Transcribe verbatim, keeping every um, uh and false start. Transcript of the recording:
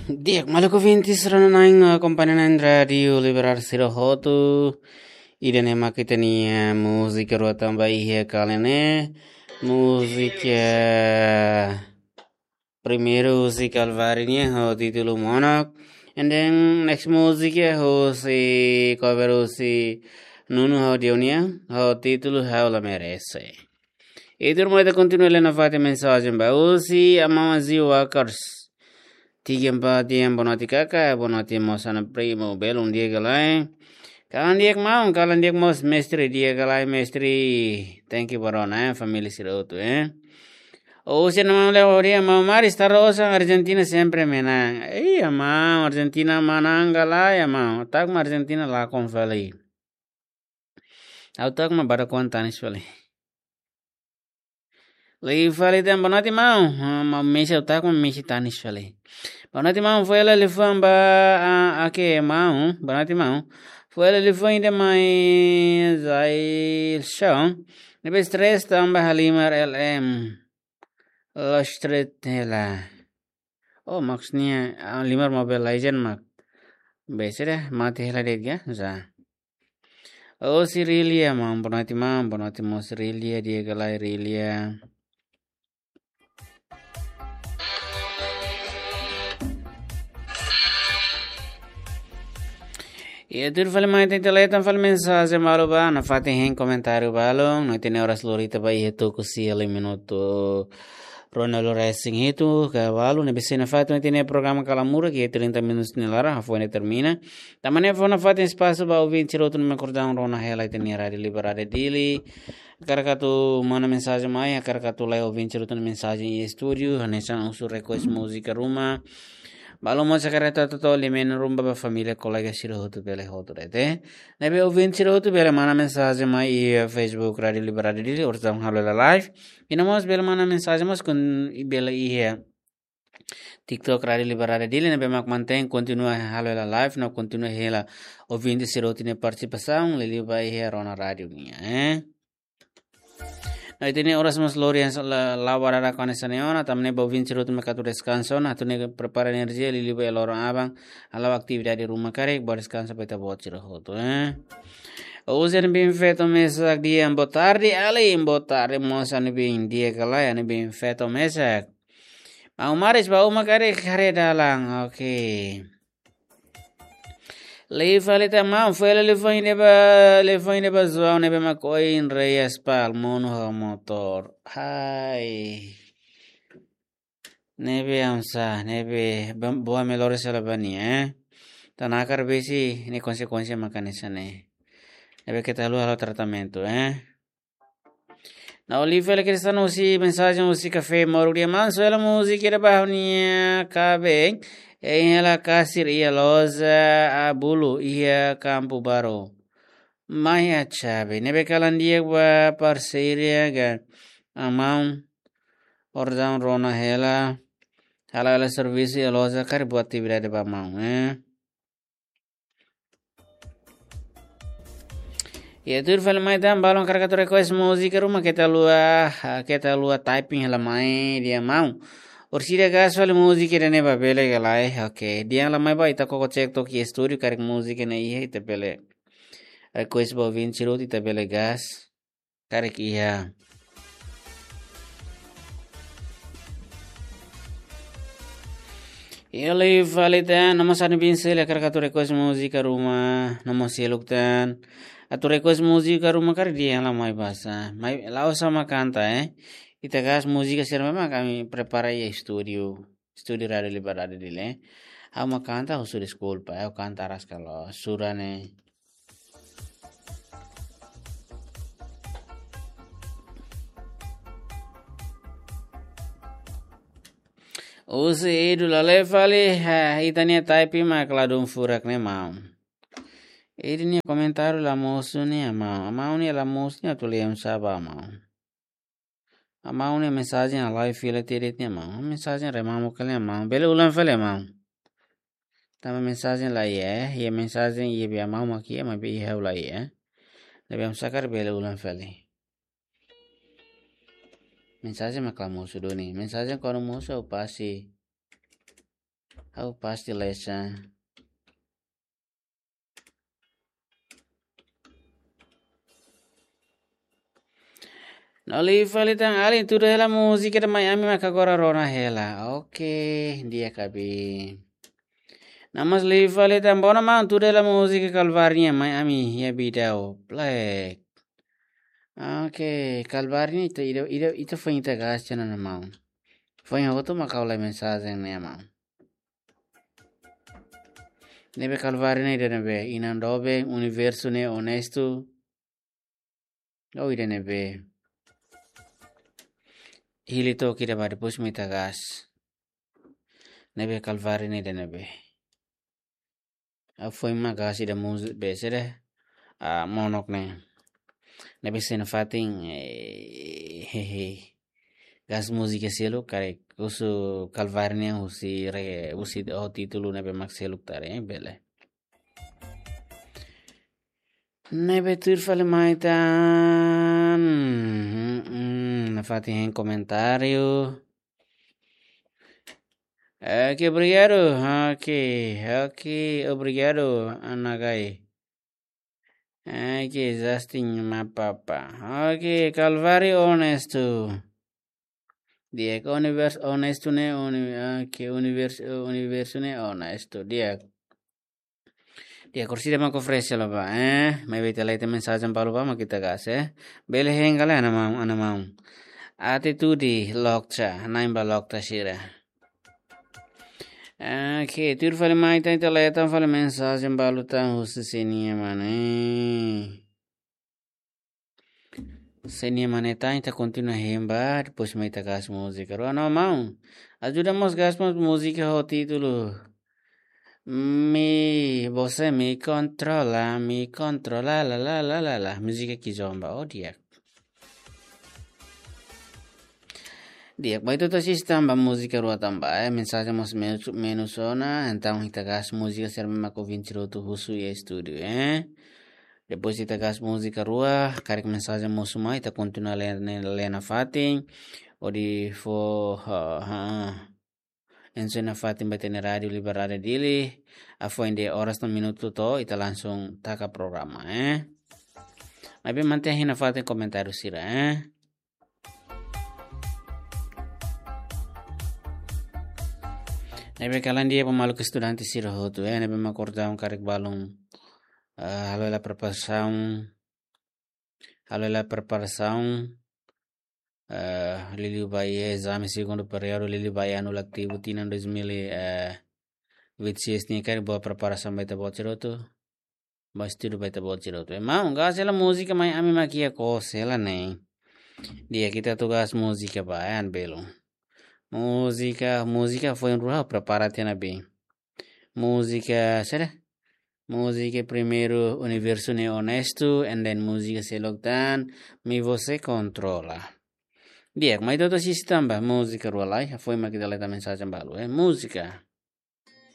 Di'ak, maluk ouvintes rona-na'in, eh, akompaña na'in Rádiu Liberal sira hotu. Ida-ne'e mak ita-nia múzika rua tanba iha kali ne'e. Múzika primeiru husi Calvary nian ho títulu Monok. And then next múzika husi cover husi Nuno ho Dionia ho títulu Ha'u La Merese. I tuirmai ita kontinua lee nafatin mensajen ba husi Amama Zio Wakars. Tiga empat yang bonoti kaka, bonoti mosana primo, belum dia galai. Kalan di'ak maun, kalan di'ak mós mestre dia galai mestre. Thank you barona, eh, família sira hotu, eh. Husi Amama Leo dia mau mari Star Rosa Argentina sempre menang. Iya maun, Argentina manang galai ya maun. Tak ma Argentina lakon fali. Ha'u tak ma badak kuan tanis fali. Liu fali tan bonoti maun. Ah, maun Messi ha'u tak ma Messi tanis fali. Bonoti maun foin hela liafuan ba, ah, oke maun. Bonoti maun. Foin hela liafuan ida mai Zail Show. Ne'ebé stress tanba halimar L M. Lost street hela. Oh, maksudnya, ah, halimar Mobile Legend mak. Bese dah, mate hela de'it ga? Za. Oh, si Rilia, maun, bonoti maun, bonoti mós Rilia, dia galai Rilia. Iha tuir fali mai ita lee tan fali mensajen balu ba, nafatin hein komentáriu balu, no ita-nia oras lori ita ba iha tuku sia liu minutu ruanulu-resin-hitu ka balu, ne'ebé sei nafatin ita-nia programa Kala Murak, iha trinta minutos nia laran, hafoin termina. Tanba ne'e fó nafatin espasu ba ouvinte sira hotu ne'ebé mak orsida rona hela ita-nia Rádiu Liberal Dili. Hakarak atu manda mensajen mai, hakarak atu lori ouvinte sira hotu nia mensajen iha estúdiu, hanesan husu request múzika ruma. Balu mós hakarak atu hato'o liafuan ruma ba família kolega sira hotu bele hotu de'it. Ne'ebé ouvinte sira hotu bele manda mensajen mai iha Facebook Rádiu Liberal Dili, orsida halo hela live. I no mós bele manda mensajen mós kon-, i bele iha TikTok Rádiu Liberal Dili ne'ebé mak mantein kontinua halo hela live, no kontinua hela ouvinte sira hotu nia partisipasaun, liuliu ba iha rona rádiu nian, eh. No ita-nia oras mós lori hanesan la, la'o barara hanesan ne'e ona, tanba ne'e ba ouvinte sira hotu mak atu deskansa ona, atu nune'e prepara enerjia, liuliu ba iha loron aban, hala'o atividade ruma karik, bá deskansa ba ita-boot sira hotu, eh. Husi Anubin Feto mesak di'ak, boa tarde, alin, boa tarde, mós Anubin, di'ak ka lae, Anubin Feto mesak. Maun Maris, ba uma karik haree dalan, oke. Liu fali tan maun, foin hela liafuan ida ba, liafuan ida ba João ne'ebé mak oin rei aspal monu ho motór. Hai. Ne'ebé hamsa, ne'ebé bam-, boa melhor sela bani, eh. Tanba nakar besik ne'e konsekuénsia mak hanesan ne'e. Ne'ebé keta haluha halo tratamentu, eh. No liu fali Cristiano husi mensajen husi Café Moruk, di'ak maun, soe hela múzika ida ba ha'u-nia kaben. Hein hela kasir iha loja Abulu iha Kampu Baru. Mai a chave. Ne'ebé kalan di'ak ba parseiru ka. Maun orsida rona hela. Hala'o hela servisu iha loja karik buat atividade ba maun, eh. Iha tuir fali mai tan, balu hakarak atu request múzika ruma keta haluha, ah, keta haluha typing hela mai di'ak maun. Orsida gas fali múzika ida-ne'e ba bele ka lae, oke. Di'ak hela mai ba ita koko cek took iha estúdiu karik múzika ne'e iha ita bele request ba ouvinte sira hotu ita bele gas. Karik iha. Iha liu fali tan, no mós Anubin sira hakarak atu request múzika ruma, no mós seluk tan. Atu request múzika ruma karik di'ak hela mai basa. Mai la'ós mak kanta, eh. Ita gas múzika sira memang ami prepara iha estúdiu. Estúdiu Rádiu Liberdade Dili. Ha'u mak kanta, husu deskulpa, ha'u kanta rasik loos, sura ne'e. Husi Edu la lee fali, ha, ita-nia typing mak ladún furak ne'e maun. Edu nia komentáriu la mosu ne'e maun. Maun nia la mosu ne'e atu lee oinsá ba maun. Maun nia mensajen halai fila tiha de'it ne'e maun. Mensajen remamo kali maun. Bele ulang fali maun. Tanba mensajen la iha, eh. Iha mensajen iha be maun mak iha, maibé iha ha'u la iha, eh. Ne'ebé hamsa karik bele ulang fali. Mensajen mak la mosu duni. Mensajen kuandu mosu ha'u pasti Ha'u pasti lesa. No liu fali tan alin, tuda hela múzika ida mai ami maka agora rona hela. Oke, di'ak abi. No mós liu fali tan, bono maun, tuda hela múzika Kalváriu nian mai ami iha vídeo. Plek. Oke, Kalváriu nian ita, ita, ita, ita foin ita gasta ona maun. Foin hotu maka ha'u lai mensajen ne'e maun. Ne'ebé Kalváriu ne'e ida ne'ebé, inan doben, universu ne'e onestu. Ou ida ne'ebé. Hili took ida ba depois mai ita gasta. Ne'ebé Kalváriu ne'e ida ne'ebé. Ha'u foin mak gasta ida múzika be sede. Ah, monok ne'e. Ne'ebé sei nafatin, eh, hehe. Gasta múzika seluk, karik husu Kalváriu nian husi re, husi ho títulu ne'ebé mak seluk tare, eh, bele. Ne'ebé tuir fali mai tan. Hmm, hmm, nafatin hein komentáriu. Oke, obrigadu. Oke, oke, obrigadu, Anagai. Oke, Justin Mapapa. Oke, Kalváriu onestu. Di'ak, universu onestu ne'e, uni-, oke, universu, universu ne'e onestu. Di'ak. Di'ak, orsida mak oferese hela ba, eh? Maibé ita lai ita mensajen balu ba mak ita gasta, eh? Bele hein ka lae, ana maun, ana maun. Atitude lokta, na'in ba lokta sira. Oke, tuir fali mai tan, ita lai ita fali mensajen balu tan husi sé nian mane. Sé nian mane tan, ita kontinua hein ba, depois mai ita gasta múzika rua. No maun, ajuda mós gasta mós múzika ho títulu Mi, Você Me Controla, Me Controla, la, la, la, la, la. Múzika Kizomba, oh di'ak. Di'ak, ba ita atu asiste tan ba múzika rua tan ba, eh, mensajen mós menus, menus ona, entaun ita gasta múzika sira mak ouvinte sira hotu husu iha estúdiu, eh. Depois ita gasta múzika rua, karik mensajen mosu mai, ita kontinua lee, lee, lee nafatin, hodi fó, ha, ha, ha. Enso nafatin ba ita-nia Rádiu Liberdade Dili, hafoin de'it oras no minutu to'o, ita langsung taka programa, eh. Maibé mantein hein nafatin komentáriu sira, eh. Ne'ebé kalan di'ak ba maluk estudante sira hotu, eh, ne'ebé mak kordaun karik balun, eh, halo hela preparasaun, halo hela preparasaun, eh, liuliu ba iha ezame segundu períodu, liuliu ba iha anu letivu tinan dois mil e vinte e seis nian karik boa preparasaun ba ita-boot sira hotu. Ba estudu ba ita-boot sira hotu. Maun, gasta hela múzika mai ami mak iha kos hela ne'e. Di'ak, ita atu gasta múzika ba, eh, an belo. Múzika, múzika foin rua prepara tiha ona be. Múzika, sede? Múzika primeiru Universu Ne'e Onestu, and then múzika seluk tan Mi Você Controla. Di'ak, mai ita atu asiste tan ba múzika rua lai, hafoin mak ita lai ita mensajen balu, eh. Múzika.